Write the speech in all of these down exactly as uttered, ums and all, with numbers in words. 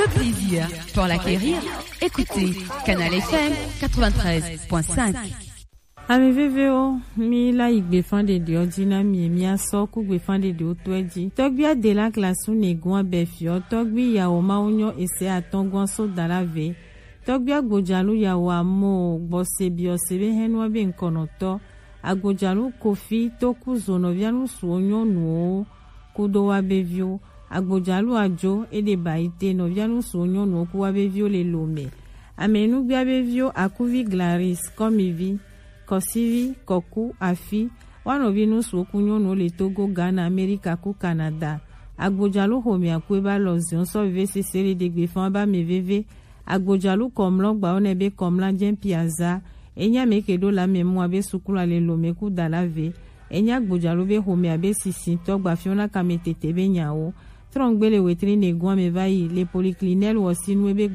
Le plaisir pour l'acquérir, écoutez Canal F M quatre-vingt-treize point cinq. Ami vevewo, mi la yi gbefa ɖeɖeɔ ji na mi, mi asɔ ku gbefa ɖeɖewo tɔɛ ji. Tɔgbi Adela Glasu Negun abɛ fiɔ, tɔgbi yawo mawo nyɔ ese atɔngɔn so dala ve. Tɔgbi Agbojalu yawo amo gbɔse biɔ se be hɛnua be ŋkɔnɔtɔ. Agbojalu Kofi to ku zo nɔvia nusuwo nyɔnuwo kudo wa be viwo. Agbojalu Ajo, eɖe ba yi te nɔvia nusuwo nyɔnuwo ku wa be viwo le lo mɛ. Ame nugbia be viwo Akuvi Glaris, Kɔmivi, Kɔsivi, Kɔku, Afi, wa nɔvi nusuwo ku nyɔnuwo le Togo, Ghana, Amerika ku Canada. Agbojalu xomɛ aku eba lɔ ziɔn sɔ veve sese le ɖegbe fan ba mɛ veve. Agbojalu kɔmlɔ gba wo nɛ be kɔmla jɛn piaza. Enya mɛ ke ɖo la mɛ mu abe sukulu ale lo mɛ ku dala ve. Enya Agbojalu be xomɛ abe sisintɔ gba fiɔna kame tete be nyawo. Trɔngbe le wetri negun ame va yi le poliklinɛl wɔsinu ebe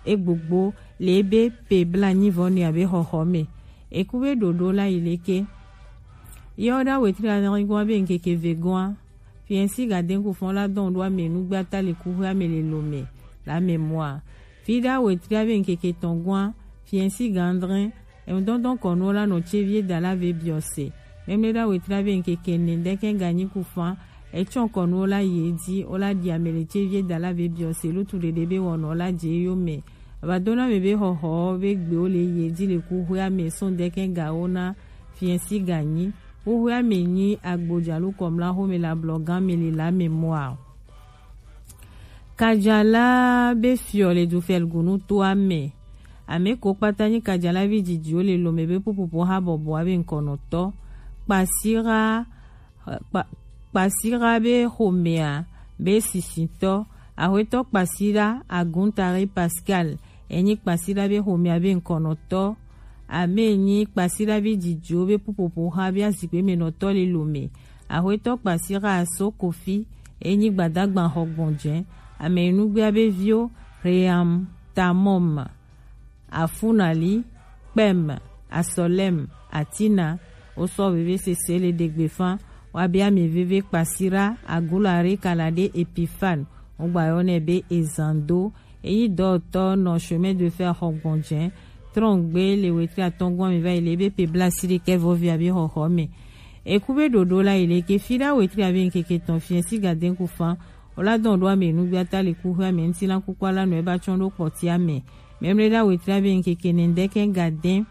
egbogbo le ebe pe bla nyi vɔ ne abe xɔxɔ mɛ. Eku be ɖoɖo la yi leke. Yɔ ɖa wetri anɛgɔn abe ŋkeke vegɔn. Fiɛnsi gaden ku fɔn la dɔn ɖo ame nugbe ata le kuxwe ame le lo mɛ la mɛ mua. Fi ɖa wetri abe ŋkeke tɔngɔn. Fiɛnsi gandrin. Emdɔndɔn kɔnuwo la nɔ tse vie da la ve biɔ se. Mɛmlɛ ɖa wetri abe ŋkeke ne ɖɛkɛ ganyi ku fan. Etsɔ kɔnuwo la yi edzi, wo la ɖi ame le tse vie da la ve biɔ se lutu ɖeɖe be wɔnɔ la dze yo mɛ. Aba dona me be xɔxɔ be gbewo le yi edzi le kuxwe ame sɔn ɖɛkɛ gawo na fiɛnsi ganyi. Kuxwe ame nyi Agbojalu kɔmla xome la blɔ gan me le la mɛ mua. Kajala be fiɔ le du fɛlgunu to ame. Ame ko kpata nyi kajala vi dzidziwo le lome be pupupu ha bɔbɔa be ŋkɔnɔtɔ. Kpasira, kpa-, kpasira be xomea be sisitɔ. Axwetɔ kpasira Aguntare Pascal. Enyi kpasira be xomea be ŋkɔnɔtɔ. Ame enyi kpasira vi dzidziwo be pupupu ha be azikpe me nɔtɔ le lome. Axwetɔ kpasira aso kofi. Enyi gbadagba xɔ gbɔnjɛ. Ame enugbea be viwo Ream Tamɔm. Afunali, Kpɛm, Asɔlɛm, Atina, wosɔ veve sese le ɖegbe fan, wa be ame veve kpasira, Agulare Kalade Epifan, wogba yɔ nɛ be Ezando, eyi dɔtɔ nɔ chemin de fer xɔ gbɔnjɛ, trɔngbe le wetri atɔngɔn mi va yi le be pe bla si ɖekɛ vɔvi abe xɔxɔ mɛ. Eku be ɖoɖo la yi le ke fi ɖa wetri abe ŋkeke tɔn fiɛ si gaden ku fan, Ola dɔn ɖo ame nugbe ata le kuxwe ame ŋuti la kukua la nɔ eba tsɔn ɖo kpɔti ame. Mɛmlɛ ɖa wetri abe ŋkeke nɛndɛkɛ gadɛn.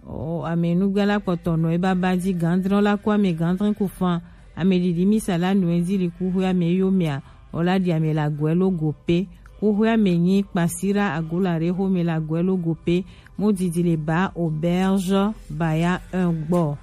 O ame nugbe la kpɔtɔ nɔ eba ba ji gandrɔn la ku ame gandrɛn ku fan. Ame ɖiɖi misa la nɔ edi li kuxwe ame yo mea. Ola ɖi ame la gɔɛ lo go pe. Kuxwe ame nyi kpasira agola ɖe xome la gɔɛ lo go pe. Mo didi le ba auberge baya un gbɔ.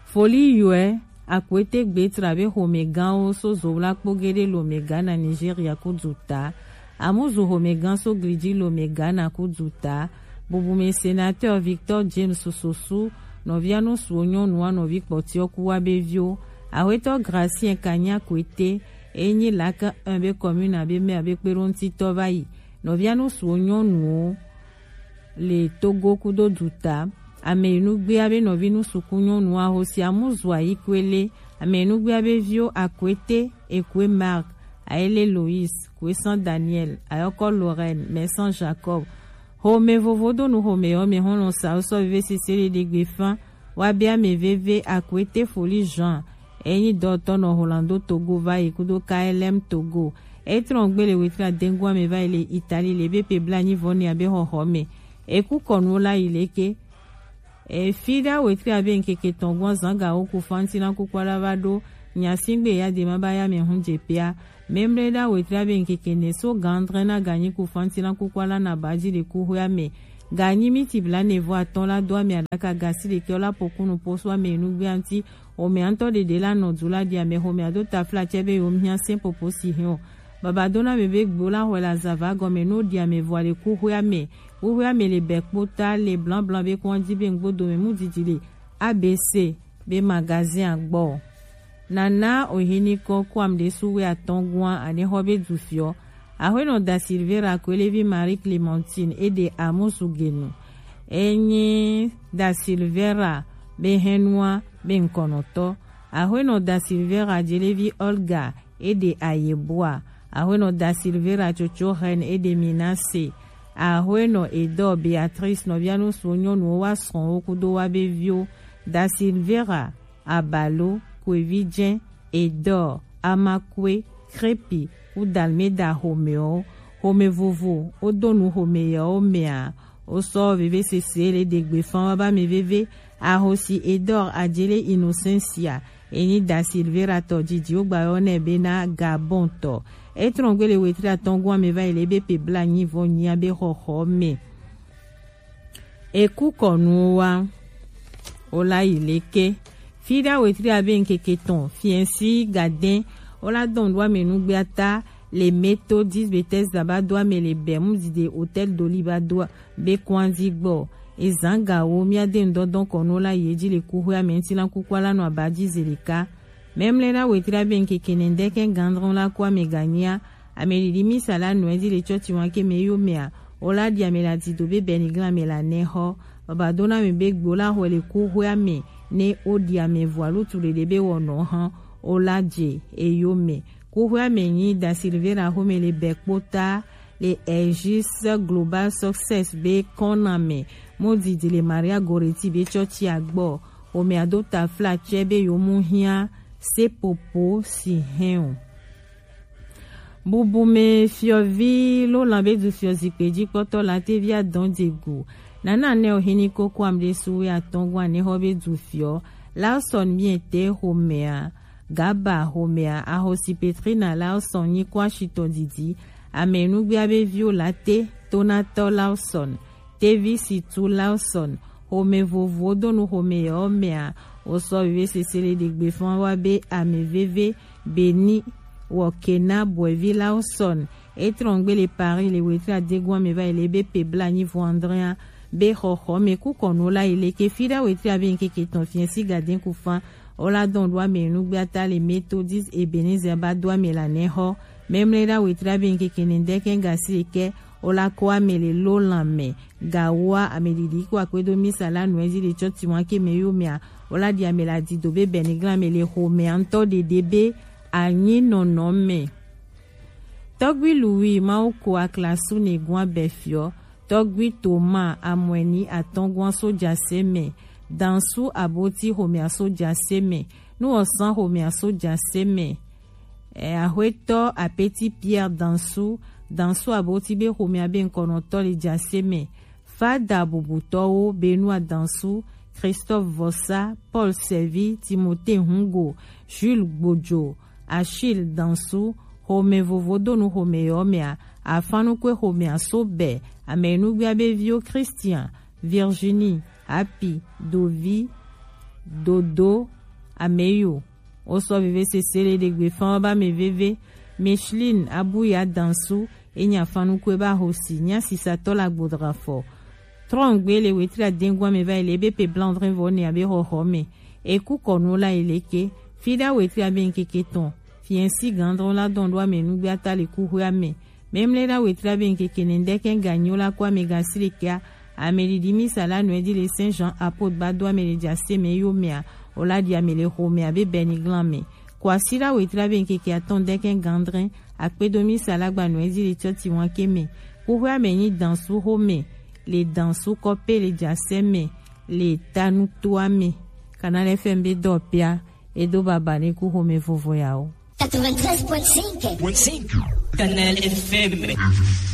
Foli yɔɛ, Akwete gbetra be xomɛganwo so Zowla kpo geɖe lomɛga na Nigeria ku duta. Amuzu xomɛgan so gliji lomɛga na ku duta. Bubume sénateur Victor James Sossou, nɔvia nusuwo nyɔnua nɔvi kpɔtiɔ ku wa be viwo. Axwetɔ Gracien Kanya Akwete, e nyi laka un be commune abe maire be kpeɖoŋutitɔ va yi. Nɔvia nusuwo nyɔnuwo le Togo kudo duta. Ame yi nugbe abe nɔvi nusuku nyɔnu ahosi amuzu ayi kwele. Ame yi nugbe abe viwo Akwete, Ekwe Mark, Ayele Lois, Kwesan Daniel, Ayɔkɔ Lorraine, Mɛsan Jacob. Xome vovo do nu xome yɔ me hɔn nɔ sa sɔ vive sese le ɖe gbe fan. Wa be ame veve Akwete Foli Jean. Enyi dɔtɔ nɔ Holando Togo va yi kudo K L M Togo. Etrɔn gbe le wetri adengu ame va yi le Italie le be pe bla nyi vɔ ne abe xɔxɔ me. Eku kɔnu la yi leke. Efi ɖa wetri abe ŋkeke tɔn gbɔn zanga wo ku fanti na kukua la va ɖo. Nyasingbe ya de ma ba ya me hun je pia. Mɛmlɛ ɖa wetri abe ŋkeke ne so gandrɛn na ganyi ku fanti na kukua la na ba ji le kuxwe ame. Ganyi miti bla ne vɔ atɔn la do ame aɖaka gasi ɖekɛ la pokunu poso ame nugbe anti. Xomɛ ŋutɔ ɖeɖe la nɔ du la ɖi ame xomɛ ado tafla tsɛ be yewo mia sɛn popo si hɛn o. Baba dona me be gbo la xɔ la zava gɔme no ɖi ame vɔ le kuxwe ame. Kuxwe ame le bɛ kpota le blanblan be kɔn di be ŋgbo dome mu didi le A B C be magazin agbɔ. Nana ohini kɔ kuam ɖe suwe atɔn guan ane xɔ be du fiɔ. Axwenɔ Da Silveira Kwelevi Marie Clementine e ɖe amusu genu. Enyi Da Silveira be hɛnua be ŋkɔnɔtɔ. Axwenɔ Da Silveira Jelevi Olga Ede Ayeboa, Ahoenɔ Da Silveira Tsotso Reine Ede Minase, Ahoenɔ Edor Beatrice nɔvianusuwo nyɔnuwo wa srɔ̃wo kudo wa be viwo, Da Silveira, Abalo, Kuevi Jɛn, Edor, Amakue, Krepi, ku Dalmeda xomewo, xome vovo, wodo nu xome yewo mea, wosɔ veve sese le ɖe gbe fan wa ba mi veve, ahosi Edor Adjele Innocencia, enyi Da Silveira tɔ didi wogba yɔ nɛ be na Gabon tɔ. Etrɔn gbe le wetri atɔn gɔn ame va yi le be pe bla nyi vɔ nyia be xɔxɔ me. Eku kɔnu wa. Ola yi leke. Fida wetri abe nkeke tɔn, fiɛnsi gaden. Ola dɔn do ame nugbe ata le Methodist Bethesda ba do ame le Bermude de Hotel Doli ba do be kwanzi gbɔ. Ezan gawo mia de ndɔdɔn kɔnu la ye ji le kuxwe ame nti la kuku ala nɔ aba ji zeleka. Memle na wetri abe nkeke nɛndɛ kɛ gandrɔn la ko ame ganyia. Ame didi misa la nɔɛ ji le tsɔtsi wan ke me yo mea. Ola di ame la di do be bɛni glan ame la nɛ xɔ. Baba do na mi be gbo la xɔ le kuxwe ame ne o di ame vɔ alutu dede be wɔ nɔ hã. Ola je eyo me. Kuxwe ame nyi Da Silveira xome le bɛ kpota le Aegis Global Success be kɔname. Mo didi le Maria Goretti be tsɔtsi agbɔ. Xome ado tafla tsɛ be yo mu hiã sepopo si hɛn o. Bubume fiɔvi lo lan be du fiɔ zikpe ji kpɔtɔ la te vi adɔn de gu. Nana nɛ o hini koko am de suwe atɔn gwan ne xɔ be du fiɔ. Lawson miete xomea. Gaba xomea, ahosi Petrina Lawson nyi kɔ ashitɔ didi. Ame nugbea be viwo la te, Tonatɔ Lawson, Tevi Situ Lawson, xome vovowo do nu xome yewo mea, wosɔ veve sese le ɖegbe fɔn wa be ame veve, Beni, Wɔkena, Bɔevi Lawson, etrɔn gbe le Paris le wetri adegun ame va yi le be pe bla nyi vɔ Andrea, be xɔxɔ me ku kɔnu la yi le ke fi ɖa wetri abe nkeke tɔn fiɛ si gaden ku fan, o la dɔn ɖo ame nugbe ata le Methodist Ebenezer ba do ame la nɛ xɔ. Memle ɖa wetri abe nkeke nɛ ɖe kɛ gasi le kɛ, o la ko ame le lo lan mɛ. Gawoa ame ɖiɖi ko akpedo misa la nu ezi le tsɔ tiwa ke me yo mea, o la di ame la di do be bɛni glan ame le xo mea ŋutɔ ɖeɖe be anyi nɔnɔ me. Tɔgbi Louis Mawu ko aklasu ne gua bɛ fiɔ, tɔgbi Toma amɔɛni atɔngua soja se mɛ, dansu aboti xomea soja se mɛ, nuwɔsan xomea soja se mɛ, ɛ, axwetɔ apeti Pierre dansu, dansu aboti be xomea be ŋkɔnɔtɔ le ja se mɛ, Fada bubutɔwo Benoît Dansu, Christophe Vossa, Paul Sɛvi, Timothée Hungo, Jules Gbojo, Achille Dansu, xome vovo do nu xome yɔ mea, afanukwe xomea so bɛ, ame nugbea be viwo Christian, Virginie, Happy, Dovi, Dodo, Ameyo. Wosɔ veve sese le ɖegbe fan ba me veve. Micheline Abuya Dansu, enya fanukwe ba hosi, nya sisatɔ la gbodra fɔ. Trɔngbe le wetri adengua me va yi le be pe blanc drin vɔ ne abe xɔxɔ me. Eku kɔnu la yi leke. Fi ɖa wetri abe nkeke tɔn. Fiɛnsi gandrɔn la dɔn ɖo ame nugbe ata le kuxwe ame. Memle ɖa wetri abe nkeke nɛ ɖe kɛ ganyo la ko ame gasi le kea. Ame ɖiɖi misa la nɔɛ di le Saint Jean Apôtre ba do ame le ja se me yo mea, o la di ame le xo mea be bɛni glan me. Ko asi ɖa wetri abe nkeke atɔn ɖe kɛ gandrɛn, akpedo misa la gba nɔɛ di le tsɔ tiwa ke me. Kuxwe ame nyi dansu xo me, le dansu kɔpe le ja se me, le tanu to ame. Canal F M be dɔ pia, edo baba ne ku xome vovo yawo. Quatre-vingt-treize point cinq. Canal F M.